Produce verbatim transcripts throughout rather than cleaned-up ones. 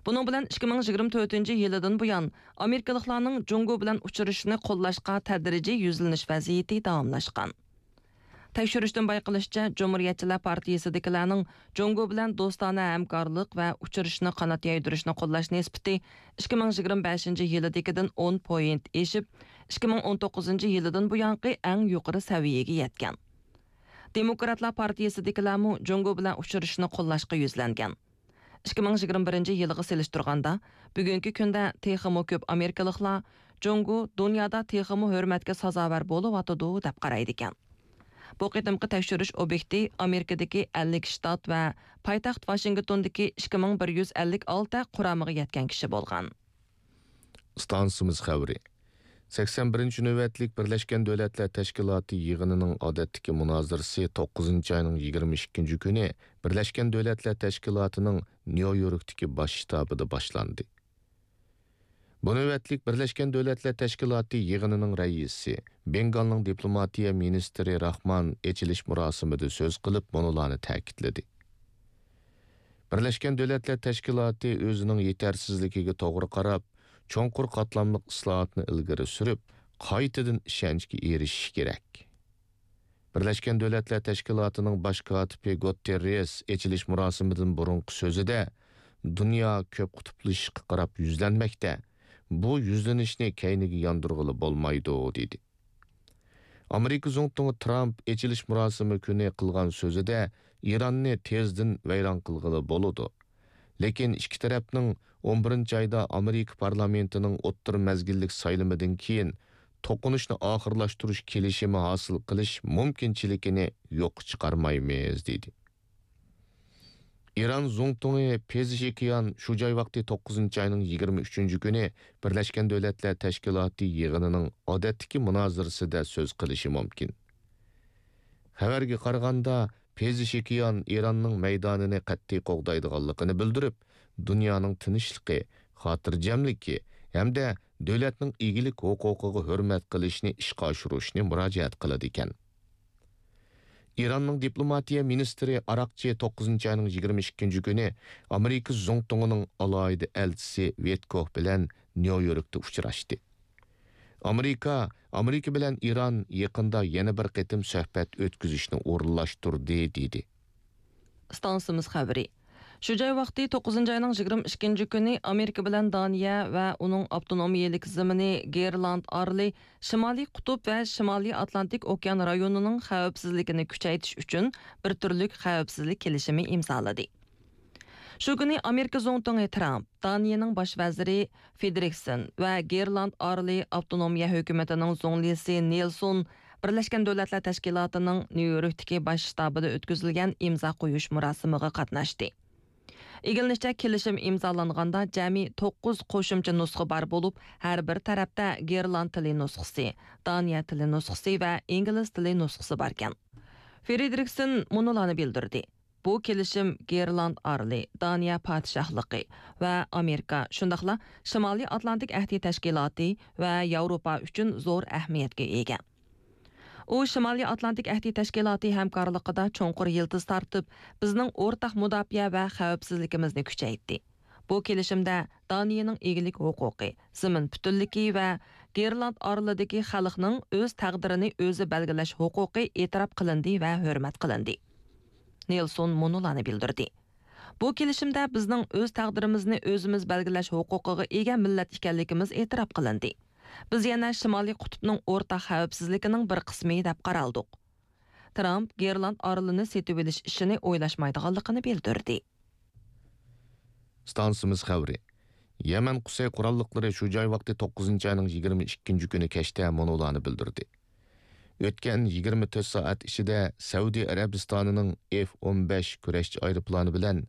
بۇنىڭ بىلەن ئىككى مىڭ يىگىرمە تۆتىنچى يىلىدىن بۇيان ئامېرىكىلىقلارنىڭ جۇڭگو بىلەن ئۇچرىشىشنى قوللاشقا تەدرىجىي يۈزلىنىش ۋەزىيىتى داۋاملاشقان. تەكشۈرۈشتىن بايقىلىشىچە، جۇمھۇرىيەتچىلەر پارتىيىسىدىكىلەرنىڭ جۇڭگو بىلەن دوستانە ھەمكارلىق ۋە ئۇچرىشىشنى قانات يايدۇرۇشنى قوللاش نىسبىتى ئىككى مىڭ يىگىرمە بەشىنچى يىلىدىكىدىن ئون پوينت ئېشىپ، ئىككى مىڭ ئون توققۇزىنچى يىلىدىن بۇيانقى ئەڭ يۇقىرى سەۋىيەگە يەتكەن. دېموكراتلار پارتىيىسىدىكىلەرمۇ جۇڭگو بىلەن ئۇچرىشىشنى قوللاشقا يۈزلەنگەن. ئىككى مىڭ يىگىرمە بىرىنچى يىلىغا سېلىشتۇرغاندا، بۈگۈنكى كۈندە تېخىمۇ كۆپ ئامېرىكىلىقلار جۇڭگو دۇنيادا تېخىمۇ ھۆرمەتكە سازاۋەر بولۇۋاتىدۇ، دەپ قارايدىكەن. بۇ قېتىمقى تەكشۈرۈش ئوبيېكتى ئامېرىكىدىكى ئەللىك شتات ۋە پايتەخت ۋاشىنگتوندىكى ئىككى مىڭ بىر يۈز ئەللىك ئالتە قۇرامىغا يەتكەن كىشى بولغان. ئىستانسىمىز خەۋىرى. سەكسەن بىرىنچى نۆۋەتلىك بىرلەشكەن دۆلەتلەر تەشكىلاتى يىغىنىنىڭ ئادەتتىكى مۇنازىرىسى توققۇزىنچى ئاينىڭ يىگىرمە ئىككىنچى كۈنى بىرلەشكەن دۆلەتلەر تەشكىلاتىنىڭ نيۇ يوركتىكى باش شتابىدا باشلاندى. بۇ نۆۋەتلىك بىرلەشكەن دۆلەتلەر تەشكىلاتى يىغىنىنىڭ رەئىسى، بېنگالنىڭ دىپلوماتىيە مىنىستىرى راخمان ئېچىلىش مۇراسىمىدا سۆز قىلىپ، مۇنۇلارنى تەكىتلىدى. بىرلەشكەن دۆلەتلەر تەشكىلاتى ئۆزىنىڭ يېتەرسىزلىكىگە توغرا قاراپ، چوڭقۇر قاتلاملىق ئىسلاھاتنى ئىلگىرى سۈرۈپ، قايتىدىن ئىشەنچكە ئېرىشىشى كېرەك. بىرلەشكەن دۆلەتلەر تەشكىلاتىنىڭ باش كاتىپى گۇتېررېس ئېچىلىش مۇراسىمىدىن بۇرۇنقى سۆزىدە، دۇنيا كۆپ قۇتۇپلىشىشقا قاراپ يۈزلەنمەكتە. بۇ يۈزلىنىشنى كەينىگە ياندۇرغىلى بولمايدۇ، دېدى. ئامېرىكا زۇڭتۇڭى ترامپ ئېچىلىش مۇراسىمى كۈنى قىلغان سۆزىدە، ئىراننى تېزدىن ۋەيران قىلغىلى بولىدۇ. لېكىن ئىككى تەرەپنىڭ ئون بىرىنچى ئايدا ئامېرىكا پارلامېنتىنىڭ ئوتتۇرا مەزگىللىك سايلىمىدىن كېيىن توقۇنۇشنى ئاخىرلاشتۇرۇش كېلىشىمى ھاسىل قىلىش مۇمكىنچىلىكىنى يوققا چىقارمايمىز، دېدى. ئىران زۇڭتۇڭى پېزېشكىيان شۇ جاي ۋاقتى توققۇزىنچى ئاينىڭ يىگىرمە ئۈچىنچى كۈنى بىرلەشكەن دۆلەتلەر تەشكىلاتى يىغىنىنىڭ ئادەتتىكى مۇنازىرىسىدە سۆز قىلىشى مۇمكىن. خەۋەرگە قارىغاندا، پېزېشكىيان ئىراننىڭ مەيدانىنى قەتئىي قوغدايدىغانلىقىنى بىلدۈرۈپ، دۇنيانىڭ تىنچلىقى، خاتىرجەملىكى ھەمدە دۆلەتنىڭ ئىگىلىك ھوقۇقىغا ھۆرمەت قىلىشنى ئىشقا ئاشۇرۇشنى مۇراجىئەت قىلىدىكەن. ئىراننىڭ دىپلوماتىيە مىنىستىرى ئاراقچى توققۇزىنچى ئاينىڭ يىگىرمە ئىككىنچى كۈنى ئامېرىكا زۇڭتۇڭىنىڭ ئالاھىدە ئەلچىسى ۋىتكوف بىلەن نيۇ يوركتا ئۇچراشتى. ئامېرىكا، ئامېرىكا بىلەن ئىران يېقىندا يەنە بىر قېتىم سۆھبەت ئۆتكۈزۈشنى ئورۇنلاشتۇردى، دېدى. ئىستانسىمىز خەۋىرى. شۇ جاي ۋاقتى توققۇزىنچى ئاينىڭ يىگىرمە ئىككىنچى كۈنى ئامېرىكا بىلەن دانىيە ۋە ئۇنىڭ ئاپتونومىيەلىك زېمىنى گېرلاند ئارىلى شىمالىي قۇتۇپ ۋە شىمالىي ئاتلانتىك ئوكيان رايونىنىڭ خەۋپسىزلىكىنى كۈچەيتىش ئۈچۈن بىر تۈرلۈك خەۋپسىزلىك كېلىشىمى ئىمزالىدى. شۇ كۈنى ئامېرىكا زۇڭتۇڭى ترامپ، دانىيەنىڭ باش ۋەزىرى فېدرىكسېن ۋە گېرلاند ئارىلى ئاپتونومىيە ھۆكۈمىتىنىڭ زۇڭلىسى نېلسون بىرلەشكەن دۆلەتلەر تەشكىلاتىنىڭ نيۇ يوركتىكى باش شتابىدا ئۆتكۈزۈلگەن ئىمزا قويۇش مۇراسىمىغا قاتناشتى. ئىگىلىنىشىچە، كېلىشىم ئىمزالانغاندا جەمئىي توققۇز قوشۇمچە نۇسخا بار بولۇپ، ھەر بىر تەرەپتە گېرلاند تىلى نۇسخىسى، دانىيە تىلى نۇسخىسى ۋە ئىنگلىز تىلى نۇسخىسى باركەن. فېدرىكسېن مۇنۇلارنى بىلدۈردى. بۇ كېلىشىم گېرلاند ئارىلى، دانىيە پادىشاھلىقى ۋە ئامېرىكا، شۇنداقلا شىمالىي ئاتلانتىك ئەھدى تەشكىلاتى ۋە ياۋروپا ئۈچۈن زور ئەھمىيەتكە ئىگە. ئۇ شىمالىي ئاتلانتىك ئەھدى تەشكىلاتى ھەمكارلىقىدا چوڭقۇر يىلتىز تارتىپ، بىزنىڭ ئورتاق مۇداپىئە ۋە خەۋپسىزلىكىمىزنى كۈچەيتتى. بۇ كېلىشىمدە دانىيەنىڭ ئىگىلىك ھوقۇقى، زېمىن پۈتۈنلۈكى ۋە گېرلاند ئارىلىدىكى خەلقنىڭ ئۆز تەقدىرىنى ئۆزى بەلگىلەش ھوقۇقى ئېتىراپ قىلىندى ۋە ھۆرمەت قىلىندى. نېلسون مۇنۇلارنى بىلدۈردى. بۇ كېلىشىمدە بىزنىڭ ئۆز تەقدىرىمىزنى ئۆزىمىز بەلگىلەش ھوقۇقىغا ئىگە مىللەت ئىكەنلىكىمىز ئېتىراپ قىلىندى. بىز يەنە شىمالىي قۇتۇپنىڭ ئورتاق خەۋپسىزلىكىنىڭ بىر قىسمى دەپ قارالدۇق. ترامپ گېرلاند ئارىلىنى سېتىۋېلىش ئىشىنى ئويلاشمايدىغانلىقىنى بىلدۈردى. ئىستانسىمىز خەۋىرى. يەمەن قۇسەي قوراللىقلىرى شۇ جاي ۋاقتى توققۇزىنچى ئاينىڭ يىگىرمە ئىككىنچى كۈنى كەچتە مۇنۇلارنى بىلدۈردى. ئۆتكەن يىگىرمە تۆت سائەت ئىچىدە سەئۇدى ئەرەبىستانىنىڭ ئېف ئون بەش كۈرەشچى ئايروپىلانى بىلەن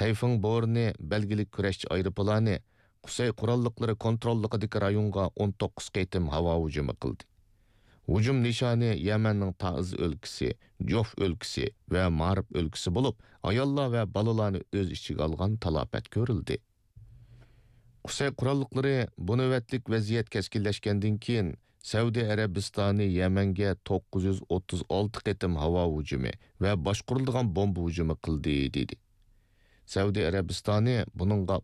تەيفېڭ بورنى بەلگىلىك كۈرەشچى ئايروپىلانى قۇسەي قوراللىقلىرى كونتروللۇقىدىكى رايونغا ئون توققۇز قېتىم ھاۋا ھۇجۇمى قىلدى. ھۇجۇم نىشانى يەمەننىڭ تائىز ئۆلكىسى، جوف ئۆلكىسى ۋە مارىب ئۆلكىسى بولۇپ، ئاياللار ۋە بالىلارنى ئۆز ئىچىگە ئالغان تالاپەت كۆرۈلدى. قۇسەي قوراللىقلىرى بۇ نۆۋەتلىك ۋەزىيەت كەسكىنلەشكەندىن كېيىن، سەئۇدى ئەرەبىستانى يەمەنگە توققۇز يۈز ئوتتۇز ئالتە قېتىم ھاۋا ھۇجۇمى ۋە باشقۇرۇلىدىغان بومبا ھۇجۇمى قىلدى، دېدى. سەئۇدى ئەرەبىستانى بۇنىڭغا